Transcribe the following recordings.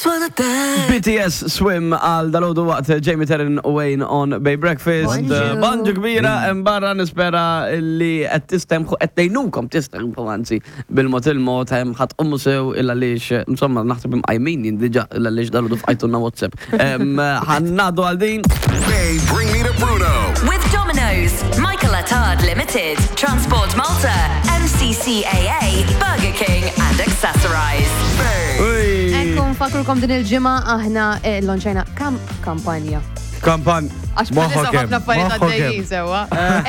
Just wanna dance. BTS Swim għal dalodu waqt Jamie Terran u Wayne on Bay Breakfast. Bonġu. Bonġu kbira, hemm barra nispera li qed tistemħu qed tgħinukom tistemħu anzi bil-mod il-mod hemm ħadd ummu sew il għaliex insomma naħseb imqajmin jien diġà il għaliex dalodu fqajtulna WhatsApp. Ħannadu għal din. Bay, bring me to Bruno. With Domino's, Michael Attard Limited, Transport Malta, MCCAA, Burger King and Accessorize. Bay. Ekku nfakrukom din il-ġimgħa aħna eh, lonċajna kam kampanja. Kampan. Għax bħalissa Moħħok hemm, ħafna affarijiet moħħok għaddejjin hemm. sewwa.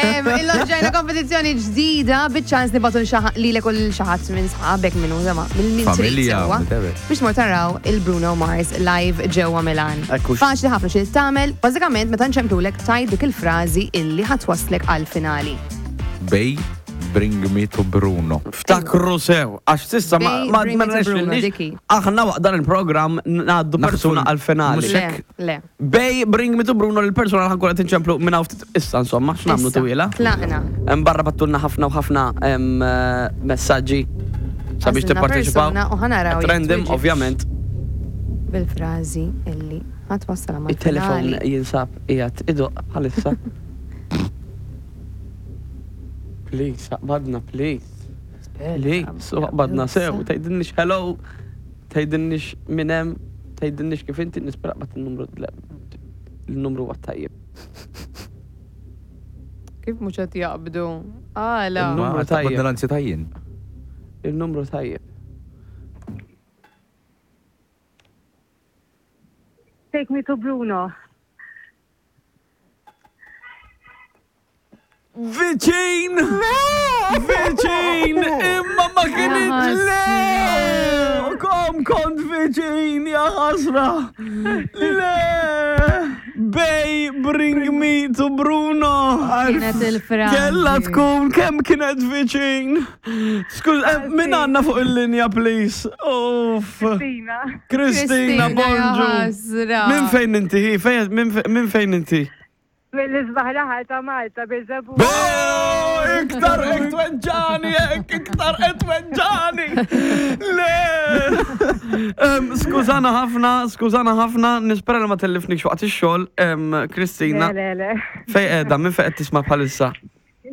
Em, Il-lonċajna kompetizzjoni ġdida biċ-ċans nibatu lilek u lil xi ħadd minn sħabek minn użama minn min trid Familja, sewwa. whatever. Biex mor taraw il-Bruno Mars live ġewwa Milan. Ekkux. Faċli ħafna xi tagħmel, bażikament meta nċemplulek tajt dik il-frażi illi ħatwaslek għal-finali. Bay, bring me to Bruno. Ftakru sew, għax sissa ma Bay, ma bring ma me to Bruno, rnexxilniex. Diki. Aħna waqt dan il-programm ngħaddu Naħsbu persuna għal-finali. mhux Le, hekk. le. Bay, bring me to Bruno l-persuna li ħankun qed inċemplu minn hawn ftit issa insomma, x'nagħmlu Issa, twila. Tlaqna. Hemm barra battulna ħafna u ħafna em, eh, messaġġi sabiex Għażilna tipparteċipaw. persuna u ħanaraw At jekk Random, tweġibx. ovvjament. Bil-frażi illi ħatwassal mal Il-telefon finali. jinsab qiegħed idoq bħalissa. Please, aqbadna, please. Please, u aqbadna sew, tgħidilniex hello, tgħidilniex minn hemm, tgħidilniex kif inti nispera qbad il-numru il-numru huwa tajjeb. Kif mhux qed jaqbdu? Għala. Il-numru Ma tajjeb. taqbadna l-ansjetà jien. Il-numru tajjeb. Take me to Bruno. Viċin! Viċin! Imma ma kienx le! Kom kont viċin, ja ħasra! Le! Bay, bring me to Bruno! Kienet il-frażi. Kella tkun kemm kienet viċin! Skuż, eh, min għandna fuq il-linja, please? Uff! Kristina. Kristina, ja bonġu! ħasra. Min fejn inti? hi? Fejn- Min fe- min fejn inti? Mill-isbaħ raħal ta' Malta, Birżebbuġa. Boo! Iktar qed tweġġani, hekk, iktar qed tweġġani. Le! Em, Skużana ħafna, skużana ħafna, nispera li ma tellifnikx waqt ix-xogħol, em, Kristina. Le, le, le. Fej qiegħda, minn fejn qed tisma' bħalissa?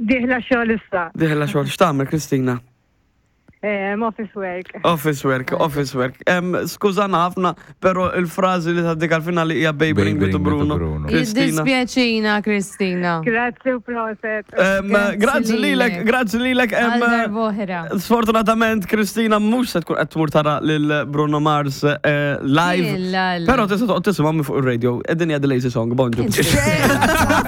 Diħla xogħol issa. Diħla xogħol, x'tagħmel Kristina? Em, Office work. Office work, office work. Em, Skużana ħafna, però il-frażi li tgħaddik għal-finali hija Babe Babe, Bring Me to bring me to Bruno. Bruno. Kristina. Jiddispjaċina, Kristina. Grazzi u proset. Em, Grazzi Grazzi lilek, lilek. grazzi lilek. em, Għal darb'oħra. Sfortunatament, Kristina mhux se tkun qed tmur tara lil Bruno Mars eh, live. Illa, illa. Però tista' toqgħod tisimgħu minn fuq ir-radio. Id-dinja The Lazy Song, bonġu.